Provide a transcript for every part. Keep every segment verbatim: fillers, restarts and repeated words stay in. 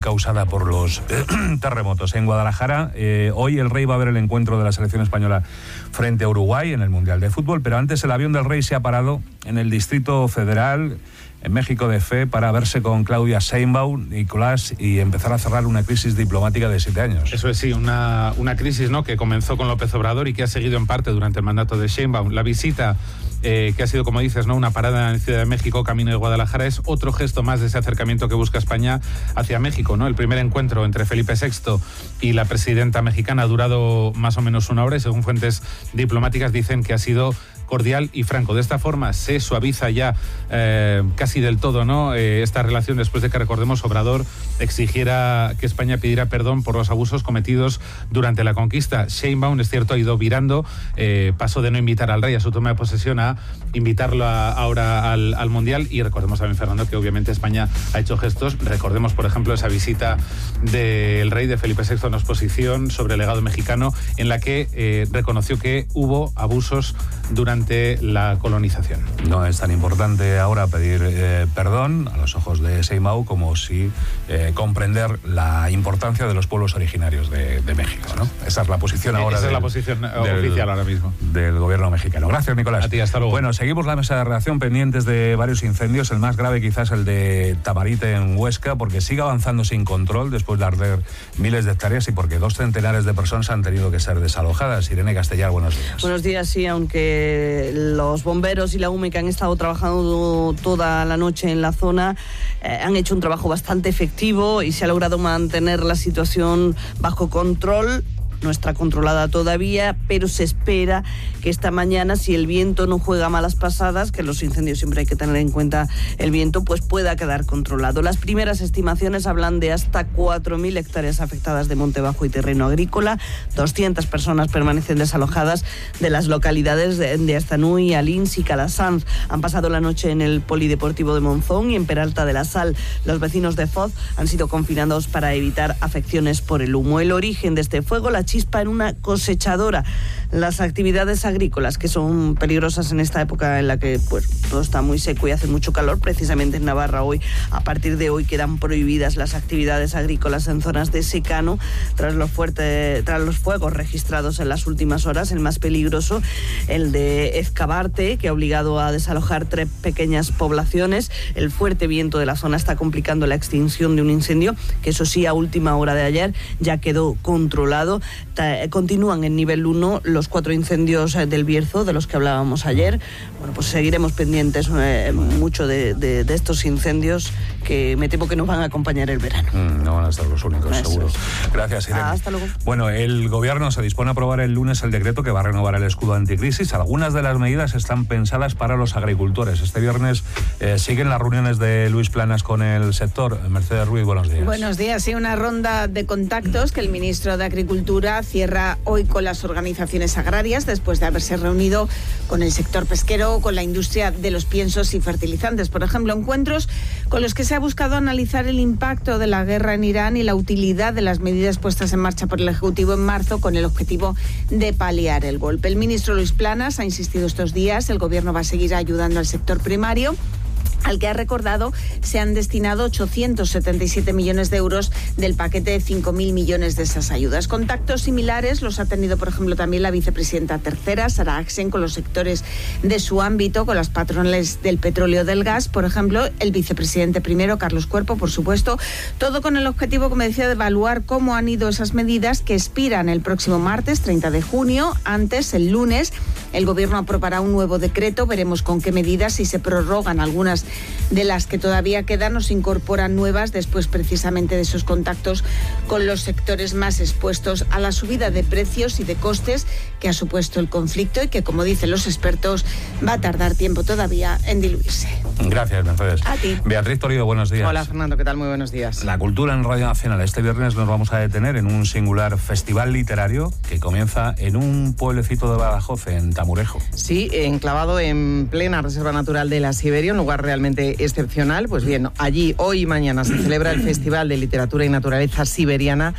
causada por los eh, terremotos. En Guadalajara, eh, hoy el Rey va a ver el encuentro de la selección española frente a Uruguay en el Mundial de Fútbol, pero antes el avión del Rey se ha parado en el Distrito Federal, en México de Fe, para verse con Claudia Sheinbaum, Nicolás, y empezar a cerrar una crisis diplomática de siete años. Eso es, sí, una, una crisis, ¿no?, que comenzó con López Obrador y que ha seguido en parte durante el mandato de Sheinbaum. La visita, eh, que ha sido, como dices, ¿no?, una parada en Ciudad de México, camino de Guadalajara, es otro gesto más de ese acercamiento que busca España hacia México, ¿no? El primer encuentro entre Felipe sexto y la presidenta mexicana ha durado más o menos una hora y, según fuentes diplomáticas, dicen que ha sido cordial y franco. De esta forma se suaviza ya eh, casi del todo, ¿no?, eh, esta relación, después de que, recordemos, Obrador exigiera que España pidiera perdón por los abusos cometidos durante la conquista. Sheinbaum, es cierto, ha ido virando, eh, pasó de no invitar al rey a su toma de posesión a invitarlo a, ahora al, al Mundial. Y recordemos también, Fernando, que obviamente España ha hecho gestos. Recordemos, por ejemplo, esa visita del rey, de Felipe sexto, a una exposición sobre el legado mexicano, en la que eh, reconoció que hubo abusos durante la colonización. No es tan importante ahora pedir eh, perdón a los ojos de Sheinbaum como si eh, comprender la importancia de los pueblos originarios de, de México, ¿no? Esa es la posición ahora. Esa del, es la posición del, oficial ahora mismo del gobierno mexicano. Gracias, Nicolás. A ti, hasta luego. Bueno, seguimos la mesa de redacción pendientes de varios incendios. El más grave quizás el de Tamarite en Huesca, porque sigue avanzando sin control después de arder miles de hectáreas y porque dos centenares de personas han tenido que ser desalojadas. Irene Castellar, buenos días. Buenos días, sí, aunque los bomberos y la U M E, que han estado trabajando toda la noche en la zona, eh, han hecho un trabajo bastante efectivo y se ha logrado mantener la situación bajo control. No está controlada todavía, pero se espera que esta mañana, si el viento no juega malas pasadas, que los incendios siempre hay que tener en cuenta el viento, pues pueda quedar controlado. Las primeras estimaciones hablan de hasta cuatro mil hectáreas afectadas de monte bajo y terreno agrícola. doscientas personas permanecen desalojadas de las localidades de, de Astanúi, Alins y Calasanz. Han pasado la noche en el Polideportivo de Monzón y en Peralta de la Sal. Los vecinos de Foz han sido confinados para evitar afecciones por el humo. El origen de este fuego, la chispa en una cosechadora. Las actividades agrícolas, que son peligrosas en esta época en la que pues todo está muy seco y hace mucho calor, precisamente en Navarra hoy, a partir de hoy, quedan prohibidas las actividades agrícolas en zonas de secano tras los fuertes, tras los fuegos registrados en las últimas horas. El más peligroso, el de Ezcabarte, que ha obligado a desalojar tres pequeñas poblaciones. El fuerte viento de la zona está complicando la extinción de un incendio que, eso sí, a última hora de ayer ya quedó controlado. Continúan en nivel uno los cuatro incendios del Bierzo, de los que hablábamos ayer. Bueno, pues seguiremos pendientes eh, mucho de, de, de estos incendios, que me temo que nos van a acompañar el verano. Mm, no van a ser los únicos, Eso seguro. es. Gracias, Irene. Ah, hasta luego. Bueno, el gobierno se dispone a aprobar el lunes el decreto que va a renovar el escudo anticrisis. Algunas de las medidas están pensadas para los agricultores. Este viernes eh, siguen las reuniones de Luis Planas con el sector. Mercedes Ruiz, buenos días. Buenos días. Sí, una ronda de contactos que el ministro de Agricultura cierra hoy con las organizaciones agrarias, después de haberse reunido con el sector pesquero, con la industria de los piensos y fertilizantes. Por ejemplo, encuentros con los que se ha buscado analizar el impacto de la guerra en Irán y la utilidad de las medidas puestas en marcha por el Ejecutivo en marzo, con el objetivo de paliar el golpe. El ministro Luis Planas ha insistido estos días: el gobierno va a seguir ayudando al sector primario, al que ha recordado se han destinado ochocientos setenta y siete millones de euros del paquete de cinco mil millones de esas ayudas. Contactos similares los ha tenido, por ejemplo, también la vicepresidenta tercera, Sara Axen, con los sectores de su ámbito, con las patronales del petróleo, del gas, por ejemplo, el vicepresidente primero, Carlos Cuerpo, por supuesto, todo con el objetivo, como decía, de evaluar cómo han ido esas medidas que expiran el próximo martes, treinta de junio. Antes, el lunes, el gobierno aprobará un nuevo decreto, veremos con qué medidas, si se prorrogan algunas de las que todavía quedan o se incorporan nuevas, después precisamente de esos contactos con los sectores más expuestos a la subida de precios y de costes que ha supuesto el conflicto y que, como dicen los expertos, va a tardar tiempo todavía en diluirse. Gracias, Mercedes. A ti. Beatriz Toledo, buenos días. Hola, Fernando, ¿qué tal? Muy buenos días. La cultura en Radio Nacional. Este viernes nos vamos a detener en un singular festival literario que comienza en un pueblecito de Badajoz, en Altamurejo. Sí, enclavado en plena Reserva Natural de la Siberia, un lugar realmente excepcional. Pues bien, allí hoy y mañana se celebra el Festival de Literatura y Naturaleza Siberiana,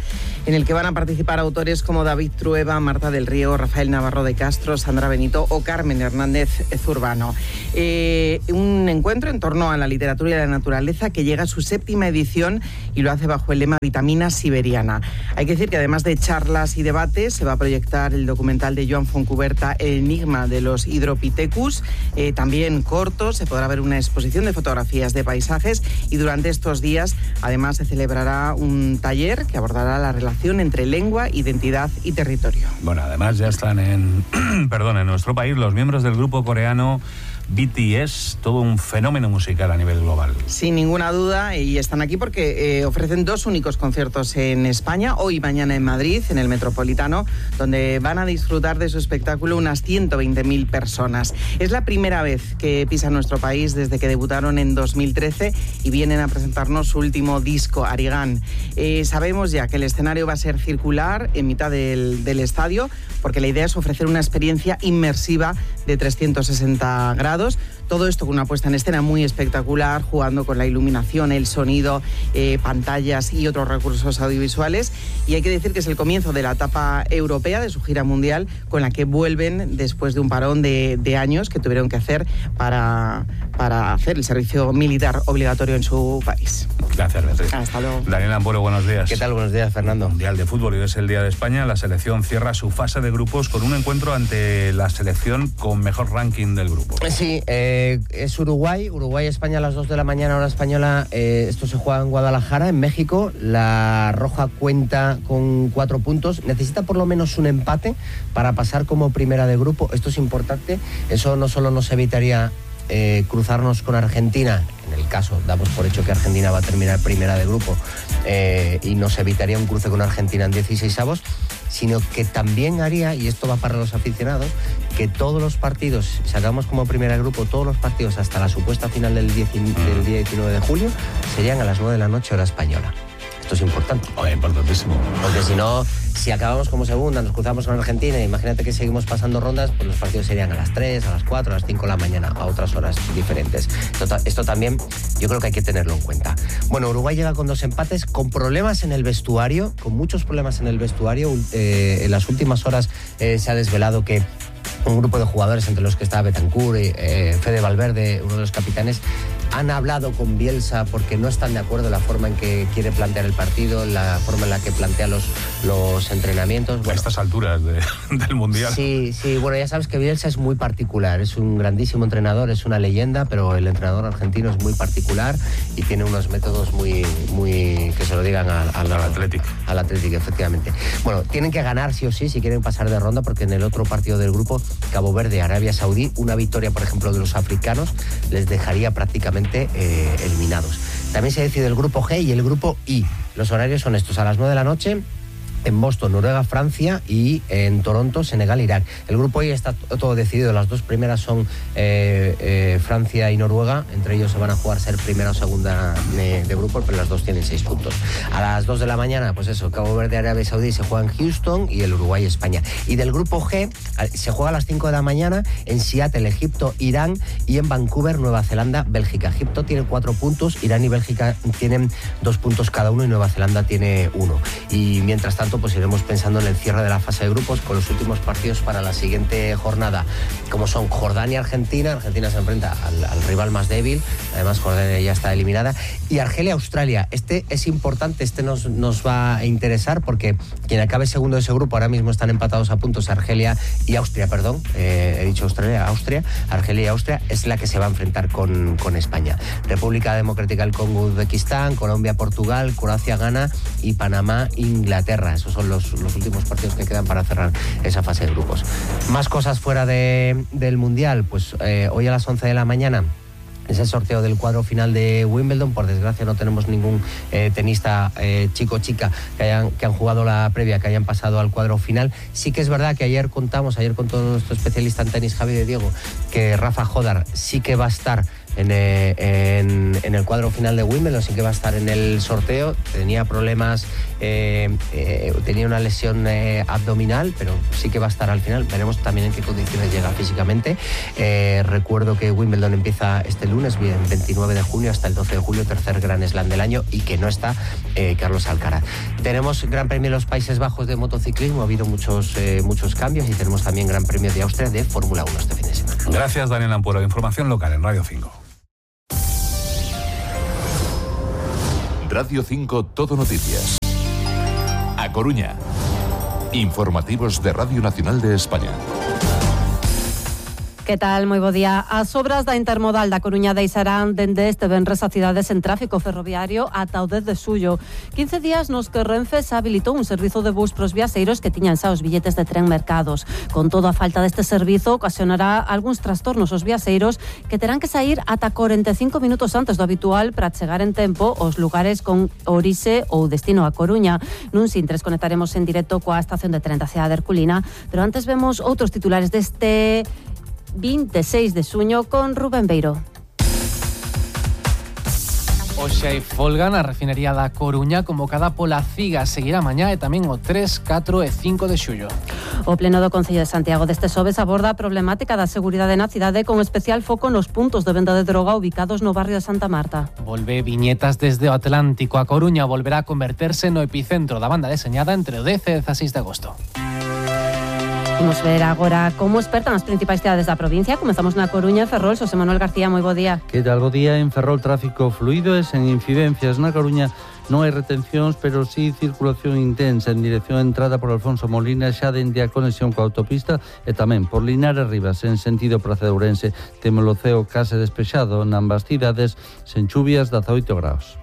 en el que van a participar autores como David Trueba, Marta del Río, Rafael Navarro de Castro, Sandra Benito o Carmen Hernández Zurbano. Eh, un encuentro en torno a la literatura y la naturaleza que llega a su séptima edición y lo hace bajo el lema Vitamina Siberiana. Hay que decir que además de charlas y debates, se va a proyectar el documental de Joan Foncuberta, El enigma de los Hydropithecus, eh, también cortos, se podrá ver una exposición de fotografías de paisajes y durante estos días además se celebrará un taller que abordará la relación entre lengua, identidad y territorio. Bueno, además ya están en, perdón, en nuestro país los miembros del grupo coreano B T S, todo un fenómeno musical a nivel global. Sin ninguna duda, y están aquí porque eh, ofrecen dos únicos conciertos en España, hoy y mañana en Madrid, en el Metropolitano, donde van a disfrutar de su espectáculo unas ciento veinte mil personas. Es la primera vez que pisan nuestro país desde que debutaron en dos mil trece y vienen a presentarnos su último disco, Arigán. Eh, sabemos ya que el escenario va a ser circular en mitad del, del estadio, porque la idea es ofrecer una experiencia inmersiva de trescientos sesenta grados. Todo esto con una puesta en escena muy espectacular, jugando con la iluminación, el sonido, eh, pantallas y otros recursos audiovisuales. Y hay que decir que es el comienzo de la etapa europea de su gira mundial, con la que vuelven después de un parón de, de años que tuvieron que hacer para, para hacer el servicio militar obligatorio en su país. Gracias, Beatriz. Hasta luego. Daniel Ampuero, buenos días. ¿Qué tal? Buenos días, Fernando. Mundial de Fútbol, y es el Día de España. La selección cierra su fase de grupos con un encuentro ante la selección con mejor ranking del grupo. Sí, eh, es Uruguay, Uruguay-España a las dos de la mañana, hora española. Eh, esto se juega en Guadalajara, en México. La Roja cuenta con cuatro puntos. Necesita por lo menos un empate para pasar como primera de grupo. Esto es importante. Eso no solo nos evitaría eh, cruzarnos con Argentina, en el caso, damos por hecho que Argentina va a terminar primera de grupo, eh, y nos evitaría un cruce con Argentina en dieciseisavos, sino que también haría, y esto va para los aficionados, que todos los partidos, si sacamos como primera de grupo, todos los partidos hasta la supuesta final del, diez, del día diecinueve de julio, serían a las nueve de la noche hora española. Esto es importante. Oye, importantísimo. Porque si no, si acabamos como segunda, nos cruzamos con Argentina, imagínate que seguimos pasando rondas, pues los partidos serían a las tres, a las cuatro, a las cinco de la mañana, a otras horas diferentes. Esto, esto también yo creo que hay que tenerlo en cuenta. Bueno, Uruguay llega con dos empates, con problemas en el vestuario, con muchos problemas en el vestuario. Eh, en las últimas horas eh, se ha desvelado que un grupo de jugadores, entre los que está Bentancur y eh, Fede Valverde, uno de los capitanes, han hablado con Bielsa porque no están de acuerdo en la forma en que quiere plantear el partido, la forma en la que plantea los, los entrenamientos. Bueno, a estas alturas de, del Mundial. Sí, sí, bueno, ya sabes que Bielsa es muy particular, es un grandísimo entrenador, es una leyenda, pero el entrenador argentino es muy particular y tiene unos métodos muy, muy que se lo digan al, al, al Athletic. Al Athletic, efectivamente. Bueno, tienen que ganar sí o sí si quieren pasar de ronda, porque en el otro partido del grupo, Cabo Verde, Arabia Saudí, una victoria, por ejemplo, de los africanos les dejaría prácticamente eh, eliminados. También se decide el grupo G y el grupo I. Los horarios son estos: a las nueve de la noche en Boston, Noruega, Francia, y en Toronto, Senegal, Irak. El grupo I está todo decidido. Las dos primeras son eh, eh, Francia y Noruega. Entre ellos se van a jugar ser primera o segunda de, de grupo, pero las dos tienen seis puntos. A las dos de la mañana, pues eso, Cabo Verde, Arabia Saudí se juega en Houston, y el Uruguay, España. Y del grupo G se juega a las cinco de la mañana en Seattle, Egipto, Irán, y en Vancouver, Nueva Zelanda, Bélgica. Egipto tiene cuatro puntos, Irán y Bélgica tienen dos puntos cada uno y Nueva Zelanda tiene uno. Y mientras tanto, pues iremos pensando en el cierre de la fase de grupos con los últimos partidos para la siguiente jornada, como son Jordania, Argentina. Argentina se enfrenta al, al rival más débil, además Jordania ya está eliminada, y Argelia, Australia. Este es importante, este nos, nos va a interesar, porque quien acabe segundo de ese grupo, ahora mismo están empatados a puntos Argelia y Austria, perdón, eh, he dicho Australia, Austria, Argelia y Austria es la que se va a enfrentar con, con España. República Democrática del Congo, Uzbekistán, Colombia, Portugal, Croacia, Ghana, y Panamá, Inglaterra. Esos son los, los últimos partidos que quedan para cerrar esa fase de grupos. Más cosas fuera de, del Mundial. Pues eh, hoy a las once de la mañana es el sorteo del cuadro final de Wimbledon. Por desgracia no tenemos ningún eh, tenista eh, chico o chica que, hayan, que han jugado la previa, que hayan pasado al cuadro final. Sí que es verdad que ayer contamos, ayer con todo nuestro especialista en tenis, Javi de Diego, que Rafa Jodar sí que va a estar en, eh, en, en el cuadro final de Wimbledon, sí que va a estar en el sorteo. Tenía problemas, eh, eh, tenía una lesión eh, abdominal, pero sí que va a estar al final. Veremos también en qué condiciones llega físicamente. Eh, recuerdo que Wimbledon empieza este lunes, bien, veintinueve de junio hasta el doce de julio, tercer Gran Slam del año, y que no está eh, Carlos Alcaraz. Tenemos Gran Premio de los Países Bajos de motociclismo, ha habido muchos, eh, muchos cambios, y tenemos también Gran Premio de Austria de Fórmula uno este fin de semana. Gracias, Daniel Ampuero. Información local en Radio cinco. Radio cinco Todo Noticias. A Coruña. Informativos de Radio Nacional de España. Que tal? Moi bo día. As obras da intermodal da Coruña deixarán dende este venres a cidades en tráfico ferroviario ata o dez de xullo. quince días nos que Renfe se habilitou un servizo de bus pros viaxeiros que tiñan xa os billetes de tren mercados. Con todo, a falta deste servizo ocasionará algúns trastornos aos viaxeiros que terán que sair ata cuarenta e cinco minutos antes do habitual para chegar en tempo aos lugares con orixe ou destino a Coruña. Nun Sintres conectaremos en directo coa estación de tren da cidade de Herculina, pero antes vemos outros titulares deste veintiséis de xuño con Rubén Beiro. Hoxe hai folga na refinería da Coruña convocada pola CIGA. Seguirá mañá e tamén o tres, catro e cinco de xullo. O Pleno do Concello de Santiago deste xoves aborda a problemática da seguridade na cidade con especial foco nos puntos de venda de droga ubicados no barrio de Santa Marta. Volve Viñetas desde o Atlántico. A Coruña volverá a converterse no epicentro da banda deseñada entre o dez e dezaseis de agosto. Vamos ver agora como expertan as principais cidades da provincia. Comezamos na Coruña, en Ferrol. Xosé Manuel García, moi bo día. Que tal? Bo día. En Ferrol, tráfico fluido e sen incidencias. Na Coruña non hai retencións, pero sí circulación intensa en dirección a entrada por Alfonso Molina, xa dende a conexión coa autopista, e tamén por Linares Rivas, en sentido Praza de Ourense. Temos o ceo case despexado nambas cidades, sen chuvias, dezaoito graus.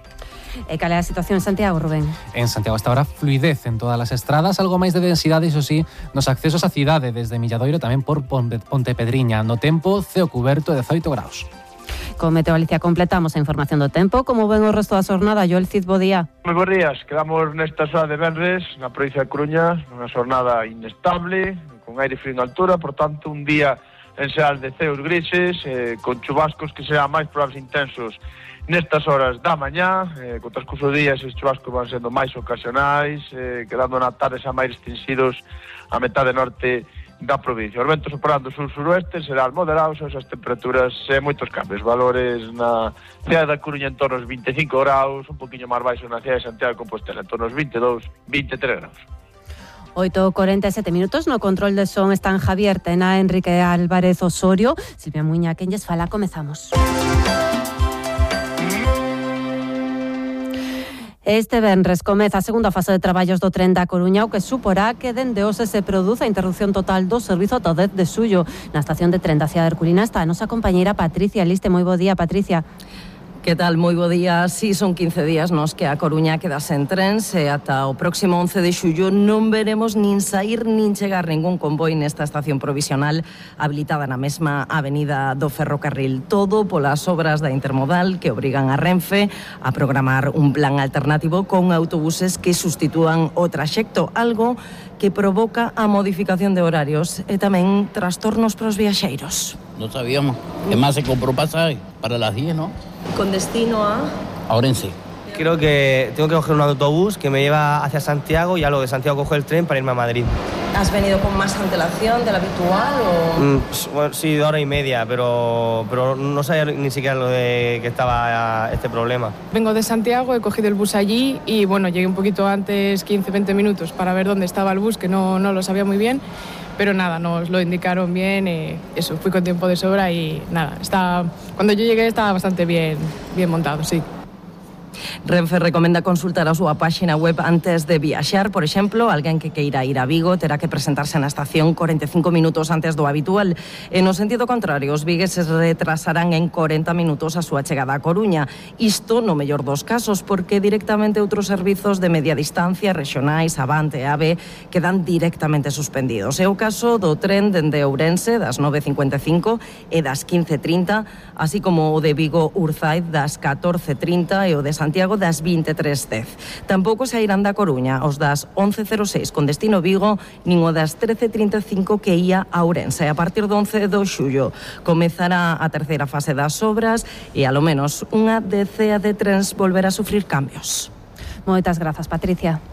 E cal é a situación en Santiago, Rubén? En Santiago hasta ahora fluidez en todas as estradas, algo máis de densidade, iso sí, nos accesos á cidade, desde Milladoiro tamén por Pontepedriña. No tempo, ceo cuberto e dezaoito graus. Con Meteo Galicia completamos a información do tempo. Como ven o resto da xornada, Joel Cid, bo día. Moi bons días, quedamos nesta xoa de venres na provincia de Coruña, nunha xornada inestable, con aire frío en altura, por tanto un día en xeral de ceos grises, eh, con chubascos que serán máis probables intensos nestas horas da mañá, eh, con transcurso do día esses chubascos van sendo máis ocasionais, eh, quedando na tarde xa máis extensidos a metade norte da provincia. Os ventos soprando sur-suroeste serán moderados, esas temperaturas e eh, moitos cambios, valores na cidade da Coruña en torno aos veinticinco graus, un poquinho máis baixo na cidade de Santiago de Compostela, en torno aos veintidós, veintitrés graus. oito cuarenta e sete minutos, no control de son están Javier Tena, Enrique Álvarez Osorio, Silvia Muña, quen lles fala, comezamos. Este venres comeza a segunda fase de traballos do tren da Coruña, o que suporá que dende hoxe se produza a interrupción total do servizo ata o dez de xullo. Na estación de tren da cidade de Herculina está a nosa compañeira Patricia Liste. Moi bo día, Patricia. Que tal? Moi bo día. Si, son quince días nos que a Coruña queda sen trens e ata o próximo once de xullo non veremos nin sair nin chegar ningún convoi nesta estación provisional habilitada na mesma avenida do ferrocarril. Todo polas obras da intermodal que obrigan a Renfe a programar un plan alternativo con autobuses que sustitúan o traxecto, algo que provoca a modificación de horarios e tamén trastornos pros viaxeiros. No sabíamos. Es más, se compró pasaje para las diez, ¿no? Con destino a... A Orense. Creo que tengo que coger un autobús que me lleva hacia Santiago y ya luego de Santiago cojo el tren para irme a Madrid. ¿Has venido con más antelación de la habitual o...? Mm, pues, bueno, sí, de hora y media, pero, pero no sabía ni siquiera lo de que estaba este problema. Vengo de Santiago, he cogido el bus allí y bueno, llegué un poquito antes, quince, veinte minutos, para ver dónde estaba el bus, que no, no lo sabía muy bien. Pero nada, nos lo indicaron bien, eh, eso, fui con tiempo de sobra y nada, está, cuando yo llegué estaba bastante bien, bien montado, sí. Renfe recomenda consultar a súa páxina web antes de viaxar. Por exemplo, alguén que queira ir a Vigo terá que presentarse na estación cuarenta e cinco minutos antes do habitual. E no sentido contrario, os vigueses retrasarán en cuarenta minutos a súa chegada a Coruña. Isto no mellor dos casos, porque directamente outros servizos de media distancia, regionais, Avante e AVE, quedan directamente suspendidos. É o caso do tren dende Ourense das nove e cincuenta e cinco e das quince e trinta, así como o de Vigo Urzaid das catorce e trinta e o de Santiago Santiago das vinte e tres dez. Tampouco sairán da Coruña os das once cero seis con destino Vigo, nin o das trece trinta e cinco que ía a Ourense. A partir do once de xullo comezará a terceira fase das obras e, alo menos, unha decea de trens volverá a sufrir cambios. Moitas grazas, Patricia.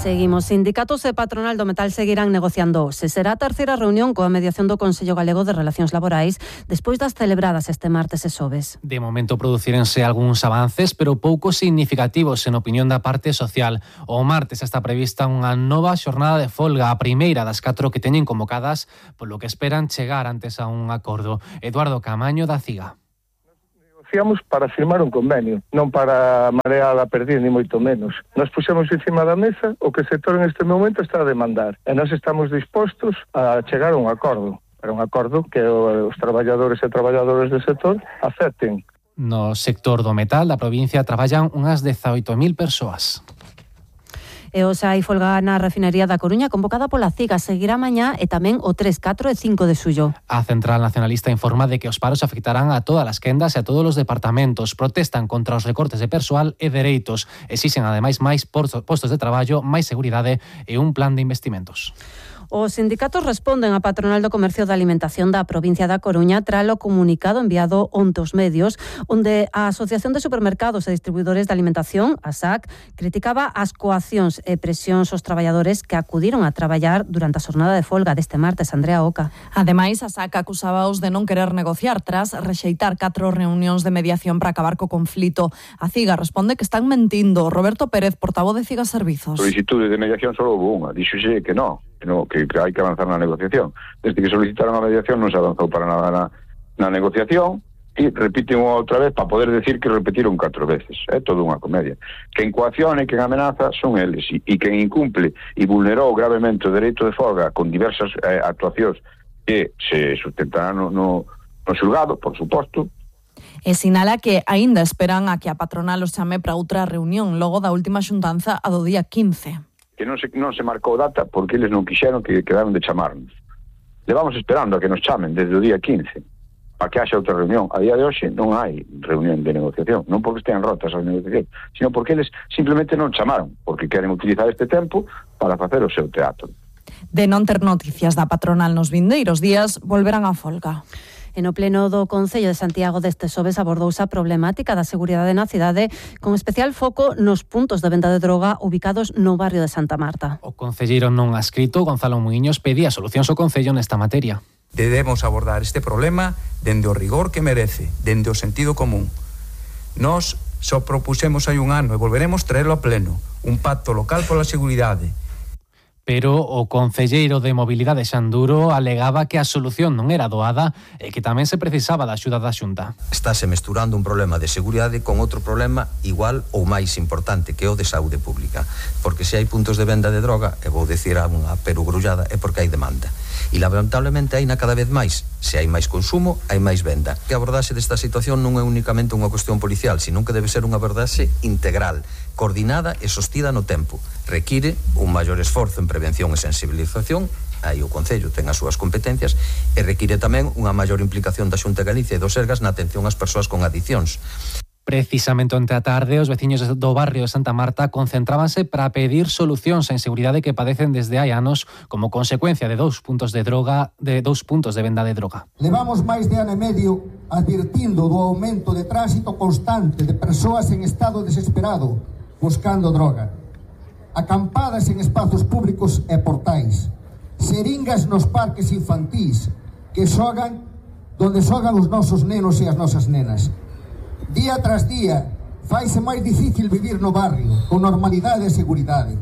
Seguimos. Sindicatos e patronal do metal seguirán negociando. Se será a terceira reunión coa mediación do Consello Galego de Relacións Laborais despois das celebradas este martes e xoves. De momento producírense algúns avances, pero pouco significativos en opinión da parte social. O martes está prevista unha nova xornada de folga, a primeira das catro que teñen convocadas, polo que esperan chegar antes a un acordo. Eduardo Camaño, da CIGA. Negociamos para firmar un convenio, non para marear a perder, ni moito menos. Nos puxemos encima da mesa o que o sector en este momento está a demandar e nós estamos dispostos a chegar a un acordo, para un acordo que os traballadores e traballadoras do sector acepten. No sector do metal da provincia traballan unhas dezaoito mil persoas. E hoxe hai folga na refinería da Coruña convocada pola CIGA. Seguirá mañá e tamén o tres, catro e cinco de xullo. A Central Nacionalista informa de que os paros afectarán a todas as quendas e a todos os departamentos. Protestan contra os recortes de persoal e dereitos. Exixen ademais máis postos de traballo, máis seguridade e un plan de investimentos. Os sindicatos responden á patronal do comercio da alimentación da provincia da Coruña tras o comunicado enviado onte aos medios, onde a Asociación de Supermercados e Distribuidores de Alimentación, a S A C, criticaba as coaccións e presións aos traballadores que acudiron a traballar durante a xornada de folga deste martes. Andrea Oca. Ademais, a S A C acusábaos de non querer negociar tras rexeitar catro reunións de mediación para acabar co conflito. A CIGA responde que están mentindo. Roberto Pérez, portavoz de CIGA Servizos. Solicitude de mediación só houve unha, díxose que non. No, que, que hai que avanzar na negociación. Desde que solicitaron a mediación non se avanzou para nada na, na negociación e repiten outra vez para poder decir que repetiron catro veces. É toda unha comedia. Quen coacciona e quen amenaza son eles e, e quen incumple e vulnerou gravemente o dereito de folga con diversas eh, actuacións que se sustentarán no, no, no xulgado, por suposto. E sinala que aínda esperan a que a patronal os chame para outra reunión logo da última xuntanza a do día quince. Que non se, non se marcou data porque eles non quixeron, que quedaron de chamarnos. Levamos esperando a que nos chamen desde o día quince para que haxa outra reunión. A día de hoxe non hai reunión de negociación, non porque estean rotas as negociacións, sino porque eles simplemente non chamaron, porque queren utilizar este tempo para facer o seu teatro. De non ter noticias da patronal nos vindeiros días, volverán a folga. E no pleno do Concello de Santiago deste xoves abordouse a problemática da seguridade na cidade, con especial foco nos puntos de venda de droga ubicados no barrio de Santa Marta. O concelleiro non adscrito, Gonzalo Muiños, pedía solucións ao Concello nesta materia. Debemos abordar este problema dende o rigor que merece, dende o sentido común. Nós só propusemos hai un ano e volveremos traerlo a pleno, un pacto local pola seguridade. Pero o concelleiro de Mobilidade Xanduro alegaba que a solución non era doada e que tamén se precisaba da axuda da Xunta. Estáse mesturando un problema de seguridade con outro problema igual ou máis importante, que é o de saúde pública. Porque se hai puntos de venda de droga, e vou dicir a unha perugrullada, é porque hai demanda. E lamentablemente hai na cada vez máis. Se hai máis consumo, hai máis venda. Que a abordaxe desta situación non é únicamente unha cuestión policial, sino que debe ser unha abordaxe integral, coordinada e sostida no tempo. Require un maior esforzo en prevención e sensibilización, aí o Concello ten as súas competencias, e require tamén unha maior implicación da Xunta de Galicia e do Sergas na atención ás persoas con adiccións. Precisamente onte a tarde, os veciños do barrio de Santa Marta concentrábanse para pedir solucións á inseguridade que padecen desde hai anos como consecuencia de dous puntos de droga, de dous puntos de venda de droga. Levamos máis de ano e medio advirtindo do aumento de tránsito constante de persoas en estado desesperado buscando droga, acampadas en espazos públicos e portais, seringas nos parques infantís que xogan donde xogan os nosos nenos e as nosas nenas. Día tras día, faise máis difícil vivir no barrio, con normalidade e seguridade.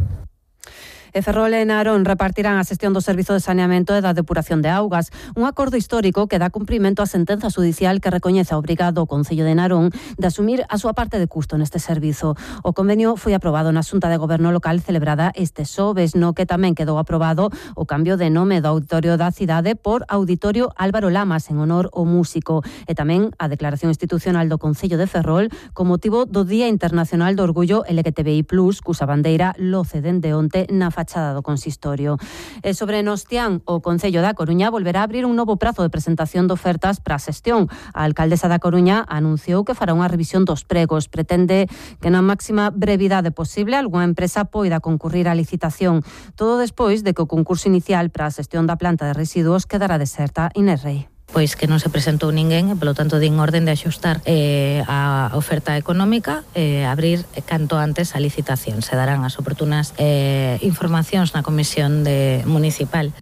E Ferrol e Narón repartirán a xestión do Servizo de Saneamento e da Depuración de Augas, un acordo histórico que dá cumprimento á sentenza judicial que recoñece a obrigado o Concello de Narón de asumir a súa parte de custo neste servizo. O convenio foi aprobado na Xunta de Goberno local celebrada este xoves, no que tamén quedou aprobado o cambio de nome do Auditorio da Cidade por Auditorio Álvaro Lamas en honor ao músico, e tamén a declaración institucional do Concello de Ferrol con motivo do Día Internacional do Orgullo L G T B I plus, cusa bandeira loce dende onte na fachada do consistorio. E sobre Nostián, o Concello da Coruña volverá a abrir un novo prazo de presentación de ofertas para a xestión. A alcaldesa da Coruña anunciou que fará unha revisión dos pregos. Pretende que na máxima brevidade posible algunha empresa poida concurrir á licitación. Todo despois de que o concurso inicial para a xestión da planta de residuos quedará deserta. Inés Rei. Pois que non se presentou ninguén e, polo tanto, din orden de axustar eh, a oferta económica e eh, abrir canto antes a licitación. Se darán as oportunas eh, informacións na Comisión de Municipal.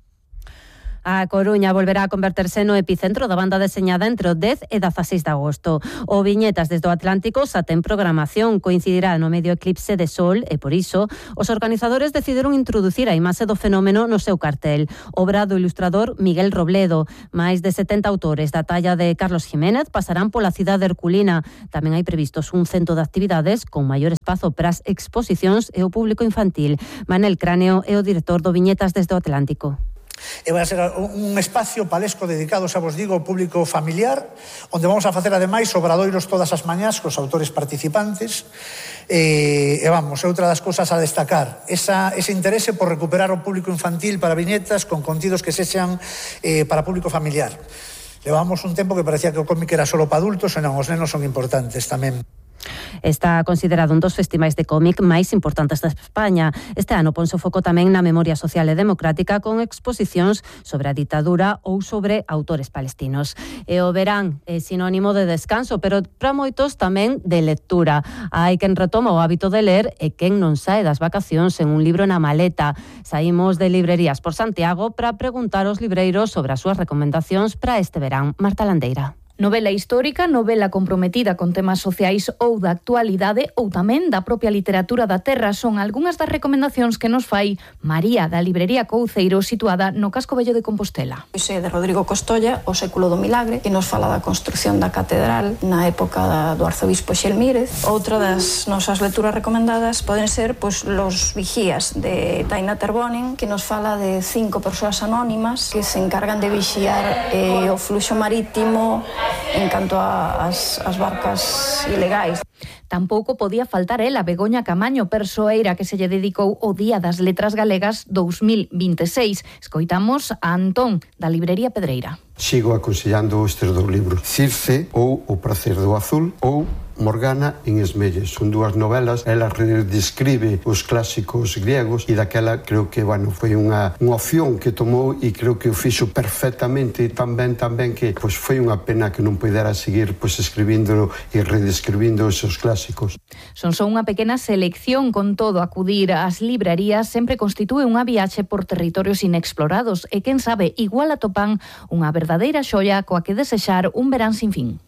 A Coruña volverá a converterse no epicentro da banda deseñada entre o dez e dezaseis de agosto. O Viñetas desde o Atlántico xa ten programación, coincidirá no medio eclipse de sol e, por iso, os organizadores decidiron introducir a imaxe do fenómeno no seu cartel. Obra do ilustrador Miguel Robledo. Máis de setenta autores da talla de Carlos Jiménez pasarán pola cidade herculina. Tamén hai previstos un cento de actividades con maior espazo para as exposicións e o público infantil. Manel Cráneo é o director do Viñetas desde o Atlántico. E vai ser un espacio palesco dedicado, xa vos digo, ao público familiar, onde vamos a facer ademais obradoiros todas as mañás cos autores participantes. E, e vamos, é outra das cousas a destacar, esa, ese interese por recuperar o público infantil para viñetas con contidos que sexan eh, para público familiar. Levamos un tempo que parecía que o cómic era solo para adultos, e non, os nenos son importantes tamén. Está considerado un dos festivais de cómic máis importantes de España. Este ano ponse o foco tamén na memoria social e democrática con exposicións sobre a ditadura ou sobre autores palestinos. E o verán é sinónimo de descanso, pero para moitos tamén de lectura. Hai quen retoma o hábito de ler e quen non sae das vacacións en un libro na maleta. Saímos de librerías por Santiago para preguntar aos libreiros sobre as súas recomendacións para este verán. Marta Landeira. Novela histórica, novela comprometida con temas sociais ou da actualidade ou tamén da propia literatura da terra son algunhas das recomendacións que nos fai María da librería Couceiro situada no Casco Vello de Compostela. Pois é de Rodrigo Costolla, O século do milagre, que nos fala da construción da catedral na época do arzobispo Xelmírez. Outra das nosas lecturas recomendadas poden ser pois, Los vigías de Taina Terbonen, que nos fala de cinco persoas anónimas que se encargan de vixiar eh, o fluxo marítimo en canto ás barcas ilegais. Tampouco podía faltar ela, Begoña Camaño, persoeira que se lle dedicou o Día das Letras Galegas dous mil vinte e seis. Escoitamos a Antón, da librería Pedreira. Sigo aconsellando estes dous libros, Circe ou O pracer do azul ou Morgana en Esmelles. Son dúas novelas, ela redescribe os clásicos griegos e daquela creo que, bueno, foi unha, unha opción que tomou e creo que o fixo perfectamente tan ben, tan ben que pois, foi unha pena que non pudera seguir pois, escribíndolo e redescribindo esos clásicos. Son só unha pequena selección, con todo acudir ás librarías sempre constitúe unha viaxe por territorios inexplorados e quen sabe, igual atopan unha verdadeira xoia coa que desexar un verán sin fin.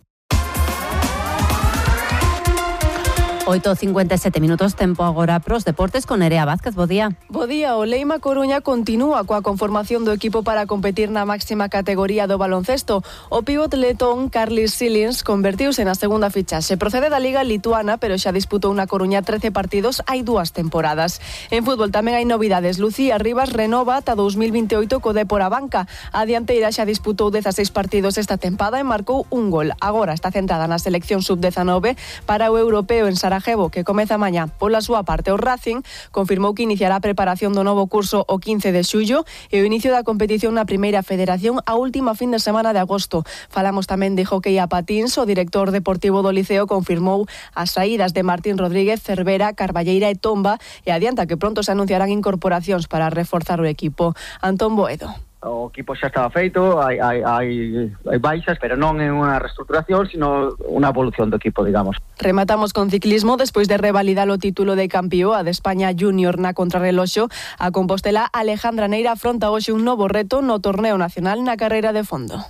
oito e cincuenta e sete minutos, tempo agora pros deportes con Nerea Vázquez. Bo día. Bo día, o Leima Coruña continúa coa conformación do equipo para competir na máxima categoría do baloncesto. O pívot letón Carlis Silins convertiuse na segunda fichaxe. Procede da Liga Lituana, pero xa disputou na Coruña trece partidos hai dúas temporadas. En fútbol tamén hai novidades. Lucía Rivas renova ata dous mil vinte e oito co Dépor a banca. A dianteira xa disputou dezaseis partidos esta tempada e marcou un gol. Agora está centrada na selección sub dezenove para o europeo en Sarajevo, que comeza mañá. Pola súa parte, o Racing confirmou que iniciará a preparación do novo curso o quince de xullo e o inicio da competición na primeira federación a última fin de semana de agosto. Falamos tamén de hockey a patins. O director deportivo do Liceo confirmou as saídas de Martín Rodríguez, Cervera, Carballeira e Tomba e adianta que pronto se anunciarán incorporacións para reforzar o equipo. Antón Boedo. O equipo xa estaba feito, hai, hai, hai, hai baixas, pero non é unha reestructuración, sino unha evolución do equipo, digamos. Rematamos con ciclismo. Despois de revalidar o título de campioa de España Júnior na contrarreloxo, a Compostela Alejandra Neira afronta hoxe un novo reto no torneo nacional na carreira de fondo.